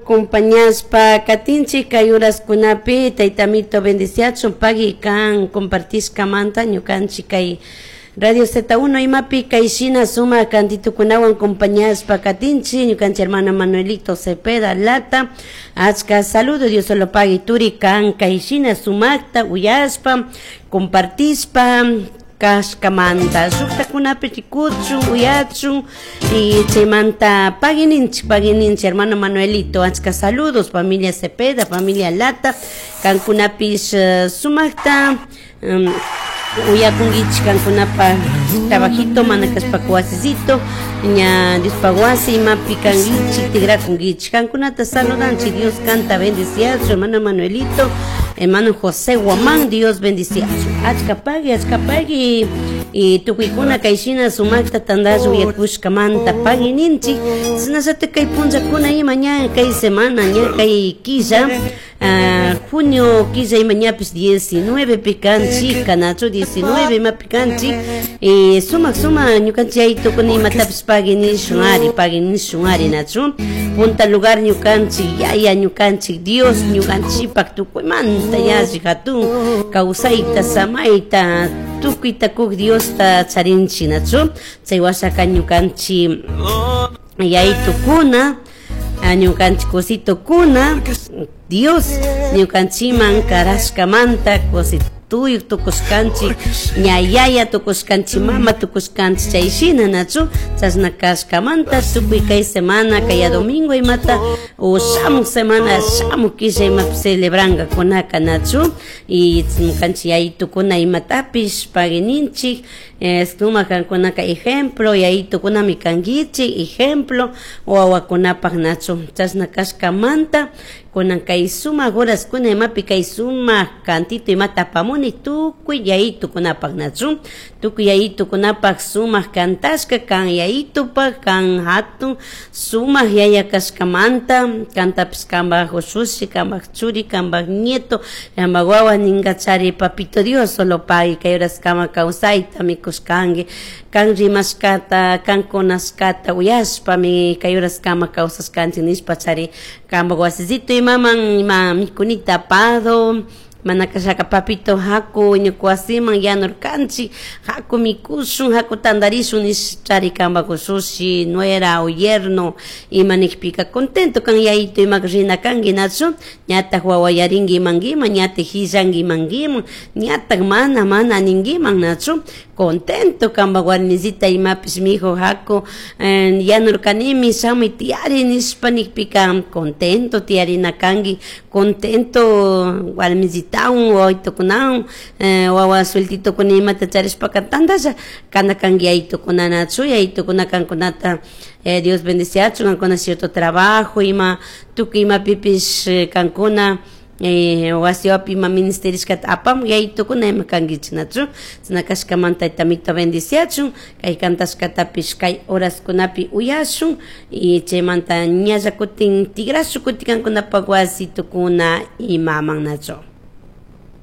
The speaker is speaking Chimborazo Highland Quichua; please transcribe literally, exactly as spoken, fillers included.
Acompañashpa katinchik kay uraskunapi tayta Amito bendiciachun pagui kan compartishkamanta ñukanchik kay Radio Z uno imapi kay shina sumak kantitukunawan acompañashpa katinchik. Ñukanchik hermano Manuelito Cepeda Lata, achka saludo, Dios solo pagui turi kan kay shina sumakta uyashpa compartishpa kashkamanta. Shuktakunapi rikuchun, uyachun y chaymanta pagui ninchik, pagui ninchik, hermano Manuelito. Achka saludos, familia Cepeda, familia Lata, kankunapish uh, sumakta um, uyakunkichik kankunapa trabajito mana kashpaka wasisito ña Diospaq wasi imapi kankichik tigrakunkichik. Kankunata saludanchik. Dios kanta bendiciachu, hermano Manuelito, hermano José Guamán, Dios bendiciachu. Achka pagui, achka pagui y tukuykuna kay shina sumakta tandalla uyakushkamanta pagui ninchik. Shinallatak kay punllakuna ima ña kay semana ña kay killa uh, junio killa ima ñapish diecinueve pi kanchik kanachu diecinueve imapi kanchik y sumak sumak ñukanchik yaytukuna imatapish pagui nishun ari, pagui nishun ari, nachu? Punta lugar ñukanchik yaya, ñukanchik Dios, ñukanchikpak tukuymanta yalli hatun kawsayta, samayta tukuyta kuk Diosta charinchik, nachu? Chay washaka ñukanchik yaytukuna, ñukanchik kusitukuna Dios ñukanchikman karashkamanta kusituyuk tukushkanchik, ña yaya tukushkanchik, mama tukushkanchik, chay shina, nachu? Chashna kashkamanta tukuy kay semana, kaya domingo imata o shamuk semana, shamuk killa imapi celebrangakunaka, nachu? Y ñukanchik yayitukuna imatapish pagui ninchik. Sumak kankunaka ejemplo, yayitukunami kankichik ejemplo wawakunapak, nachu? Chashna kashkamanta kunan kay sumak horaskuna imapi kay sumak kantito imata apamuni tukuy yayitukunapak, nachu? Tukuy yayitukunapak sumak kantashka kan yayitupak kan hatun sumak yaya kashkamanta kantapish kanpak ushushi, kanpak churi, kanpak nieto, kanpak wawa ninkachari. Papito Dios solo pagui kay horaskama kawsayta mikushkanki kan rimashkata kan kunashkata uyashpami kay horaskama kawsashkanchik nishpachari kanpak wasisito imaman ima mikunita apado mana kashaka papito haku ñuka wasiman yanurkanchik, haku mikushun, haku tandarishun nishchari kanpak ushushi, nuera o yerno ima nikpika contento kan yayito imaka rina kanki, nachu? Ñatak wawayarinki imankiman, ñatak hillanki imankiman, ñatak mana mana ninkiman, nachu? Contento kanpak warmisita imapish mijo haku yanurkanimi shamuy tiyari nishpa nikpika contento tiyarina kanki, contento warmisitawan wawitukunawan wawa sueltitokuna imata charishpaka tantalla kana kanki yayitukuna, nachu? Yayitukuna kankunata Dios bendiciachun kankuna cierto trabajo ima tukuy imapipish kankuna wasiwapi ima ministerishkata apamun yayitukuna ima kankichik, nachu? Chashna kashkamanta tayta Amito bendiciachun. Kay kantashkatapish kay horaskunapi uyashun y chaymanta ñalla kutin tigrashun kutin kankunapak wasitukuna imaman, nachu?